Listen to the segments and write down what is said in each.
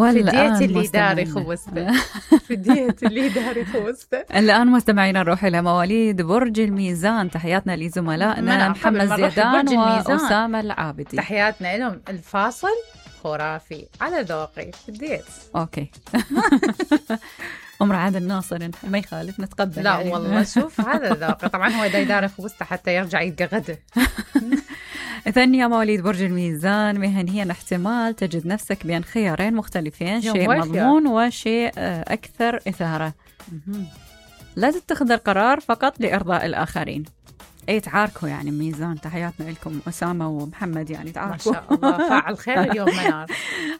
فديت اللي داري خوسته. فديت اللي داري خوسته. الآن مستمعينا نروح إلى مواليد برج الميزان. تحياتنا لزملائنا محمد زيدان وأسامة العابدي. تحياتنا لهم. الفاصل خرافي على ذوقي. فديت. أوكي. رعاد الناصر ما يخالف نتقبل. لا يعني. والله شوف هذا ذوقي. طبعا هو دايدار خوسته حتى يرجع يتقغده. ثانية مواليد برج الميزان، مهنيا احتمال تجد نفسك بين خيارين مختلفين، شيء مضمون وشيء أكثر إثارة. لا تتخذ القرار فقط لإرضاء الآخرين. أي تعاركوا يعني ميزان. تحياتنا لكم أسامة ومحمد، يعني تعاركوا. ما شاء الله فاعل خير اليوم منار.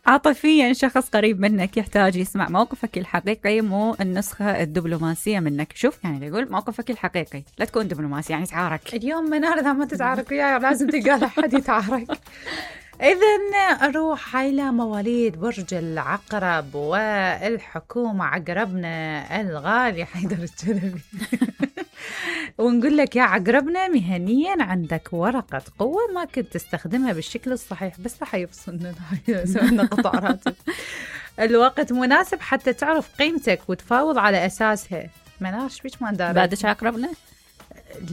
عاطفيا شخص قريب منك يحتاج يسمع موقفك الحقيقي مو النسخة الدبلوماسية منك. شوف يعني يقول موقفك الحقيقي، لا تكون دبلوماسي يعني تعارك. اليوم منار إذا ما تتعارك وياي لازم تلقى لحد يتعارك. إذن أروح إلى مواليد برج العقرب والحكومة عقربنا الغالي حيدر الجلبي. ونقول لك يا عقربنا، مهنيا عندك ورقة قوة ما كنت تستخدمها بالشكل الصحيح، بس راح يفصلنا سوينا قطع راتب. الوقت مناسب حتى تعرف قيمتك وتفاوض على أساسها. مناش بيش ما ندارك. بعدش عقربنا؟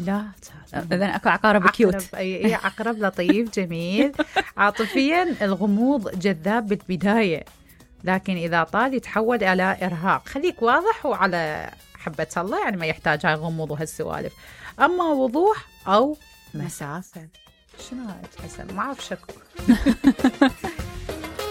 لا إذن أكو عقارب كيوت. أي عقرب لطيف جميل. عاطفيا الغموض جذاب بالبداية، لكن إذا طال يتحول إلى إرهاق. خليك واضح وعلى حبة الله، يعني ما يحتاج هاي غموض وهالسوالف. أما وضوح أو مسافة شنو هاي حسن ما أعرف شكو.